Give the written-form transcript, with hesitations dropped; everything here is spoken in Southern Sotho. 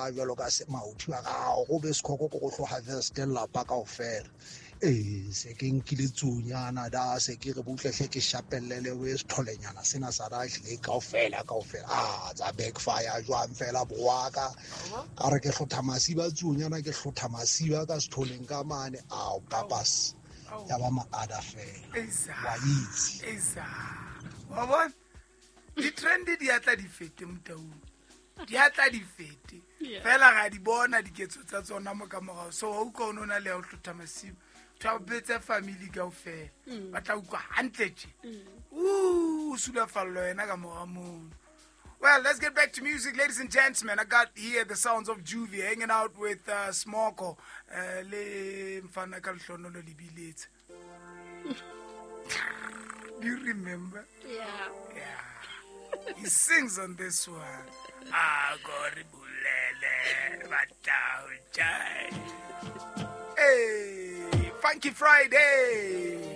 ka jwalo ka mauthi ba ka go be sekhoko ko go tlo harvest lelapa kaofela. Ee, se ke nkile tsunyana da se ke re butlehle ke shapellele o setholenyana sena sa da hlile kaofela kaofela. A tsa backfire jwang fela boaka ka re ke hlotha masiba tsunyana ke hlotha masiba ka setholeng ka mane ao papas ya ba maada fela wa itse. Wa bona di-trend di atla di fete motaung, di atla di fete fela ga di bona diketso tsa tsona mo ka morago. So wa utlwa o ne o na le ya go hlotha masiba tho a betse family kaofela ba tla utlwa hantle tje o sulafallo yena ka mora mono. Well, let's get back to music, ladies and gentlemen. I got here the sounds of Juvie hanging out with Smoko le mfana ka lehlohonolo Lebiletsa. Do you remember? Yeah. Yeah. He sings on this one. Agori bulele batau jai. Hey, Funky Friday.